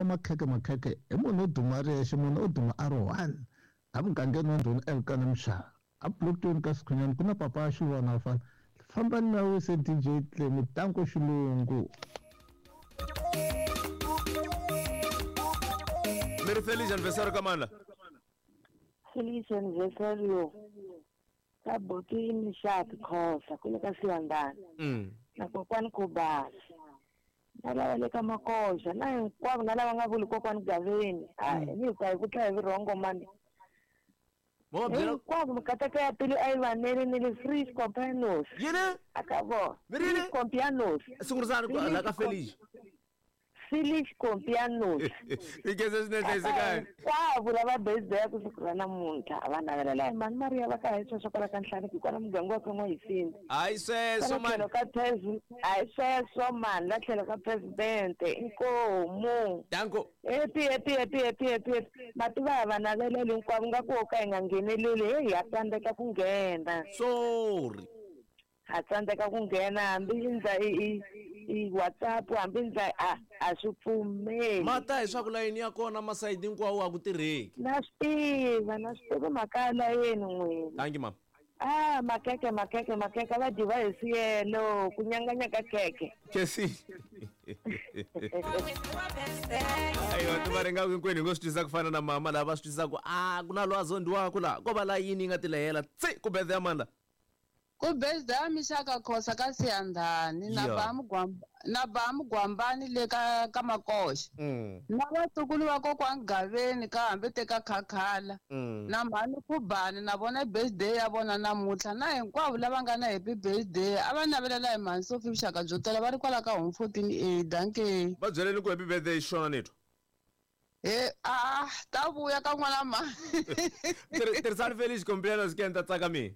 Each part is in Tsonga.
Makhekhe makhekhe i munhu wo duma a ri yexe, munhu o duma a ri one. Emugangeni wa Ndhuna eVukani Mshana, eBlockton ka Sikhunyani ku na papa ya Xilwana vafana. Fambani mi ya wise DJ Clemy Tanko Xilungu. Mi ri feliz aniversario ka mani la? Feliz aniversario ka buti Mishaki Khosa kule ka Siyandhani na kokwani Khubasa na lava le ka Makoxa na hinkwavo na lava nga vuli kokwani Gaveni a ni hi ku tlha hi vurhongo mani. Mo va byela Hinkwavo mikateko ya pilo a yi vanele ni le free Scorpianos. Yini? A ka vona. Mi ri yini? Free Scorpianos. Sungurisani ku la ka Feliz. Felix Compianos. I khensa swinene hlayisekani. Hinkwavo lava birthday ku siku ra namuntlha a va navelela hi mhani Mariya va ka hi sweswo kwala ka Nhlaniki hi kwala muganga wa ka N'wahisini. Hayi sweswo Kwala mani. tlhelo ka hayi sweswo mani la tlhelo ka presidente inkomu. Danko. Happy happy happy happy happy happy. Mativa ha va naveleli hinkwavo nga ku ka hi nga ngheneleli heyi ha tsandzeka ku nghena. Sorry. Ha tsandzeka ku nghena hambi ndza i WhatsApp hambi ndza a swi pfumeli. Mata hi swa ku layini ya kona masayiti hinkwawo a ku tirheki. Na swi tiva, na swi tiva mhaka ya layeni n'wina. Thank you mama. Ah, makeke makeke makeke va dyiwa hi siyelo ku nyanganya ka khekhe. Kesi. Ayiwa ti va ringa hinkwenu hi ngo swi twisisa ku fana na mama lava swi twisisa ku a ku na lwazo ndiwaku la ko va layini yi nga tilehela tsi ku birthday ya mani la. Ku birthday ya Mishaka Khosa ka Siyandhani na na ba Mugwambani le ka Makoxa. Na vatukulu va kokwani Gaveni ka hambi te ka Khakhala. Na mhani Khubani na vona birthday ya vona namuntlha na hinkwavo lava nga na happy birthday a va navelela hi mhani Sophie vuxaka byo tala va ri kwala ka home 14A danke. Va byeleni ku happy birthday xona ni twa. He a ta vuya ka n'wana mhani. Tirhisani Felix Compianos ke ni ta tsaka mina.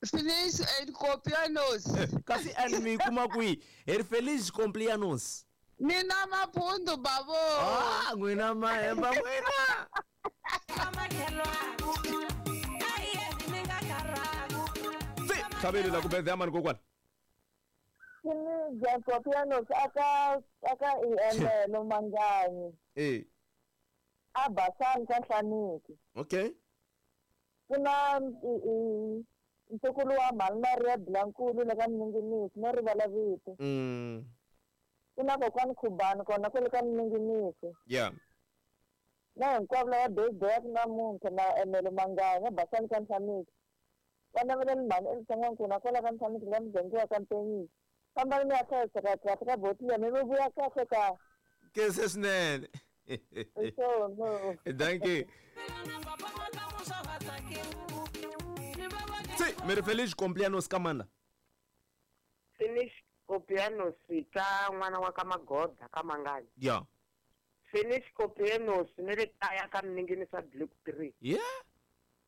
Felix and Compianos. Kasi and mi kuma kwihi? Hi ri Felix Compianos. Ni na maphundu bavo. Ah, n'wina mahemba n'wina. Tlhaveli la ku birthday ya mani kokwana. Felix Compianos aka EML Manganyi. Eh. A Basani ka Nhlaniki. Okay. Ku na ntukulu wa mhani Maria Blankulu le ka Mninginisi no rivala vito. Ku na kokwani Khubani kona kwale ka Mninginisi. Yeah. Na hinkwavo lava birthday ya namuntlha na Emelo Manganya Basani ka Nhlaniki. Va naveleli mhani Elisa N'wankuna kwala ka Nhlaniki la muganga wa ka Mpenyisi. Fambani mi ya hlayiseka kahle ka botile mi vuya kahle ka. Kese swinene. So, Thank you. Si, mi ri Felix Compianos ka mani la? Felix Compianos ka n'wana wa ka Magoda ka Manganyi. Yeah. Felix Compianos ni le kaya ka Mninginisa Block 3. Yeah.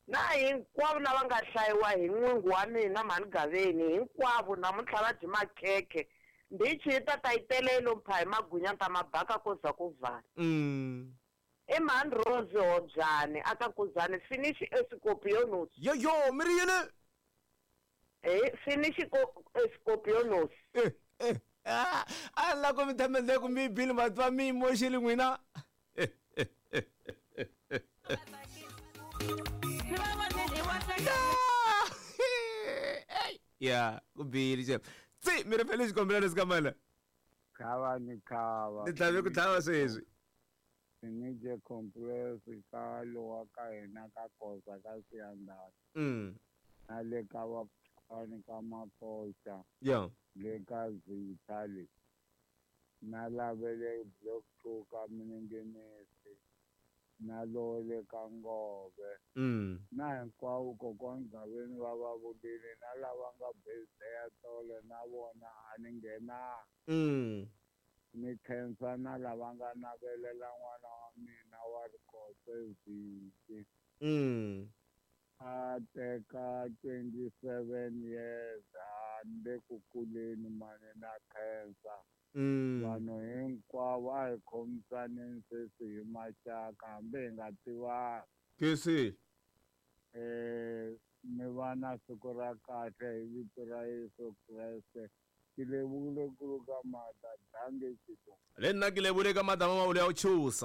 Na hinkwavo lava nga hlayiwa hi n'wingi wa mina mhani Gaveni hinkwavo namuntlha va dyi makhekhe. Ndichi yi ta ta yi tele yi lo mpha hi magwinya ta mabaka ko za ku vala. I mhani Rose Hobyane aka Kuzani Finish Escorpionos. Yo yo mi ri yini? Finish Escorpionos. A la ku mi themendle ku mi bile matwa mi moxile n'wina. Ya, ku bile xe. Tsi, mi ri Felix Compianos ka mani la? Khava ni khava. Ni tlhave ku tlhava sweswi. Sinije complex ka lowa ka hina ka Khosa ka Siyandhani. Na le ka vakwani ka Makoxa. Yeah. Le ka Zitha le. Na lavele Block 2 ka Mninginisi. Na lo le ka Ngove. Na hinkwavo kokwani Gaveni va va vulile na lava nga birthday ya tolo na vona a ni nghenanga. Ni khensa na lava nga navelela n'wana wa mina wa Rikotse Vhiki. A teka 27 years a ni le ku kuleni mani na khensa. Vanhu hinkwavo a hi khomisaneni sweswi hi maxaka hambi hi nga tivani. Kesi. Mi va na siku ra kahle hi vito ra Yesu Kreste. Ke lebogile kudu ka maatla, danke Tito. Le nna ke lebogile ka maatla, mama o le ya o tshosa.